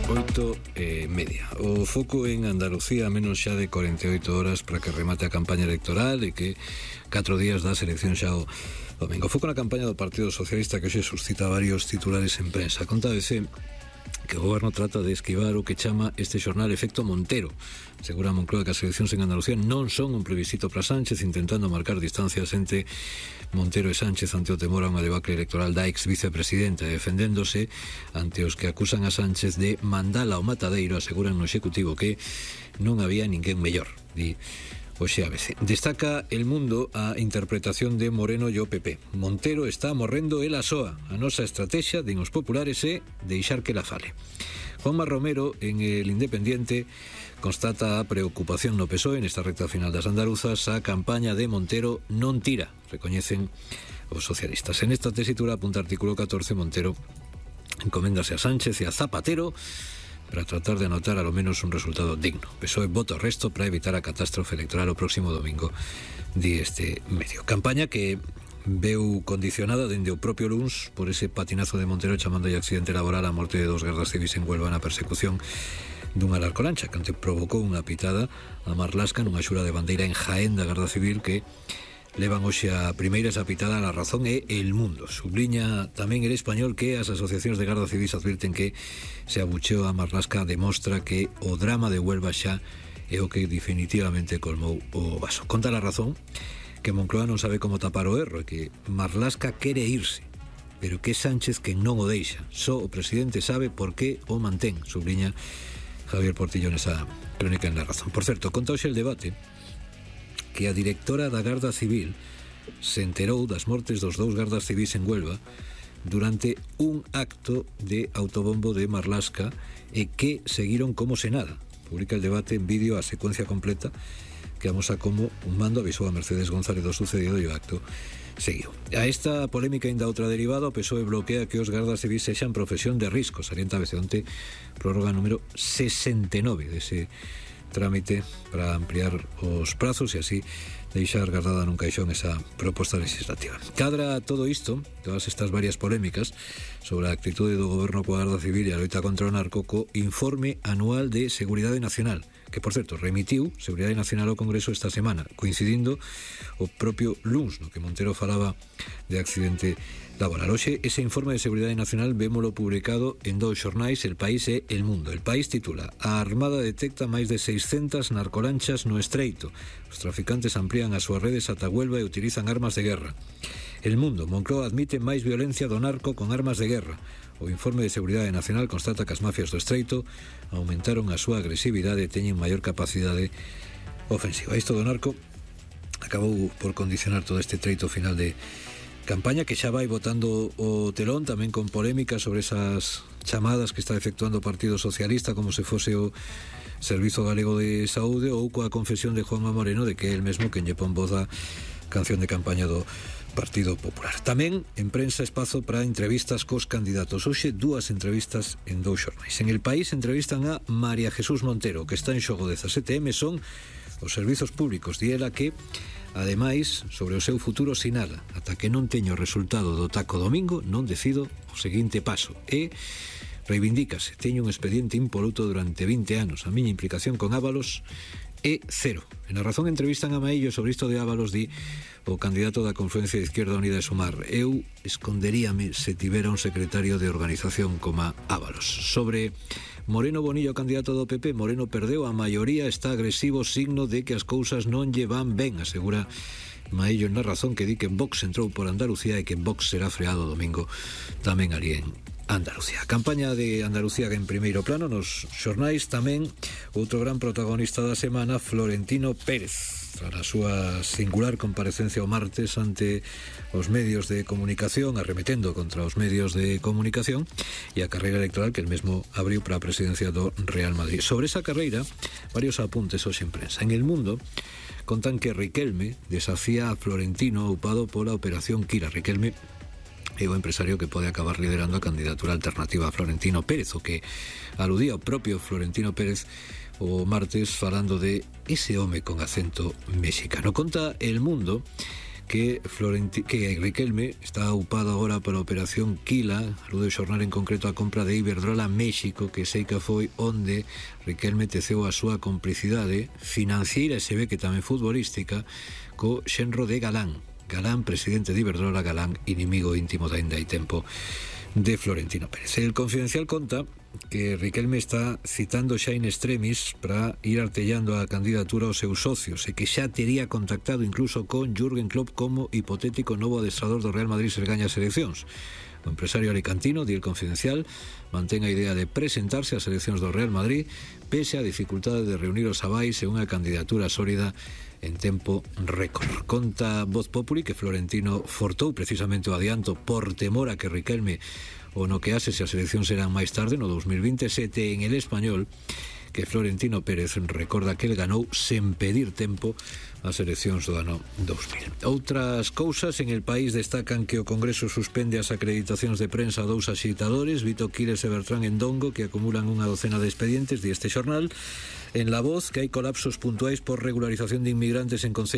8:30. O foco en Andalucía a menos xa de 48 horas para que remate a campaña electoral e que 4 días das eleccións xa o domingo. Foco na campaña do Partido Socialista que hoxe suscita varios titulares en prensa. Contábese que o goberno trata de esquivar o que chama este xornal efecto Montero. Segura Moncloa que as eleccións en Andalucía non son un plebiscito para Sánchez, intentando marcar distancias entre Montero e Sánchez ante o temor a unha debacle electoral da ex vicepresidenta, defendéndose ante os que acusan a Sánchez de mandala ao matadeiro. Aseguran no Executivo que non había ninguén mellor, di Oxe ABC. Destaca El Mundo a interpretación de Moreno e o PP. Montero está morrendo ela soa. A nosa estrategia, din os populares, é deixar que la fale. Juanma Romero, en El Independiente, constata a preocupación no PSOE nesta recta final das andaluzas. A campaña de Montero non tira, recoñecen os socialistas. En esta tesitura apunta artículo 14, Montero encoméndase a Sánchez e a Zapatero para tratar de anotar a lo menos un resultado digno. PSOE vota o resto para evitar a catástrofe electoral o próximo domingo, di este medio. Campaña que veu condicionada dende o propio luns por ese patinazo de Montero chamando de accidente laboral a morte de 2 gardas civis en Huelva na persecución dunha larcolancha que provocou unha pitada a Marlaska nunha xura de bandeira en Jaén da Garda Civil que levan hoxe a primeira esa pitada. A razón é El Mundo. Subliña tamén El Español que as asociacións de Garda Civis advirten que se abucheo a Marlaska demostra que o drama de Huelva xa é o que definitivamente colmou o vaso. Conta La Razón que Moncloa non sabe como tapar o erro e que Marlaska quere irse, pero que Sánchez que non o deixa. Só o presidente sabe por que o mantén, subliña Javier Portillo nesa crónica en La Razón. Por certo, conta hoxe el debate que a directora da Garda Civil se enterou das mortes dos 2 gardas civis en Huelva durante un acto de autobombo de Marlaska e que seguiron como se nada. Publica el debate en vídeo a secuencia completa que amosa como un mando avisou a Mercedes González do sucedido e o acto seguiu. A esta polémica ainda outra derivada, o PSOE bloquea que os gardas civis sexan profesión de risco. Salienta ABC onte prórroga número 69 dese trámite para ampliar os prazos e así deixar guardada nun caixón esa proposta legislativa. Cadra todo isto, todas estas varias polémicas sobre a actitude do goberno coa Garda Civil e a loita contra o narco co informe anual de Seguridade Nacional, que, por certo, remitiu Seguridade Nacional ao Congreso esta semana, coincidindo o propio luns, no que Montero falaba de accidente laboral. Hoxe, ese informe de Seguridade Nacional vémolo publicado en 2 xornais, El País e El Mundo. El País titula: A Armada detecta máis de 600 narcolanchas no Estreito. Os traficantes amplían as súas redes ata Huelva e utilizan armas de guerra. El Mundo: Moncloa admite máis violencia do narco con armas de guerra. O informe de Seguridade Nacional constata que as mafias do Estreito aumentaron a súa agresividade e teñen maior capacidade ofensiva. Isto do narco acabou por condicionar todo este treito final de campaña que xa vai botando o telón, tamén con polémica sobre esas chamadas que está efectuando o Partido Socialista como se fose o Servizo Galego de Saúde, ou coa confesión de Juanma Moreno de que é el mesmo quen lle pon voz a canción de campaña do Partido Popular. Tamén en prensa espazo para entrevistas cos candidatos. Hoxe 2 entrevistas en 2 xornais. En El País entrevistan a María Jesús Montero, que está en xogo 17M, son os servizos públicos. Di ela que ademais, sobre o seu futuro sinala: ata que non teño o resultado do taco domingo, non decido o seguinte paso. E reivindícase: teño un expediente impoluto durante 20 anos. A miña implicación con Ábalos é cero. En A Razón entrevistan a Maillo sobre isto de Ábalos, di o candidato da Confluencia de Izquierda Unida e Sumar: eu esconderíame se tivera un secretario de organización como Ábalos. Sobre Moreno Bonillo, candidato do PP, Moreno perdeu a maioría, está agresivo, signo de que as cousas non lle van ben, asegura Maillo en La Razón, que di que Vox entrou por Andalucía e que Vox será freado domingo tamén ali en Andalucía. A campaña de Andalucía en primeiro plano nos xornais. Tamén outro gran protagonista da semana, Florentino Pérez, tras a súa singular comparecencia o martes ante os medios de comunicación, arremetendo contra os medios de comunicación e a carreira electoral que el mesmo abriu para a presidencia do Real Madrid. Sobre esa carreira, varios apuntes hoxe en prensa. En El Mundo contan que Riquelme desafía a Florentino upado pola Operación Kira. Riquelme é o empresario que pode acabar liderando a candidatura alternativa a Florentino Pérez, o que aludía o propio Florentino Pérez o martes falando de ese home con acento mexicano. Conta El Mundo que Riquelme está upado agora para a operación Quila, alude o xornal en concreto a compra de Iberdrola México, que sei que foi onde Riquelme teceu a súa complicidade financiera e se ve que tamén futbolística co xenro de Galán, presidente de Iberdrola, Galán, inimigo íntimo de ainda hai tempo de Florentino Pérez. El Confidencial conta que Riquelme está citando xa in extremis para ir artellando a candidatura aos seus socios e que xa tería contactado incluso con Jürgen Klopp como hipotético novo adestrador do Real Madrid se gaña as eleccións. O empresario alicantino, di El Confidencial, mantén a idea de presentarse ás eleccións do Real Madrid pese a dificultade de reunir os avais e unha candidatura sólida en tempo récord. Conta Voz Populi que Florentino fortou precisamente o adianto por temor a que Riquelme o no que hace se as eleccións serán máis tarde, no 2027, en El Español, que Florentino Pérez recorda que el ganou sen pedir tempo as eleccións do ano 2000. Outras cousas, en El País destacan que o Congreso suspende as acreditacións de prensa a dous axitadores, Vito Quiles e Bertrán Endongo, que acumulan unha docena de expedientes, di este xornal. En La Voz, que hai colapsos puntuais por regularización de inmigrantes en concellos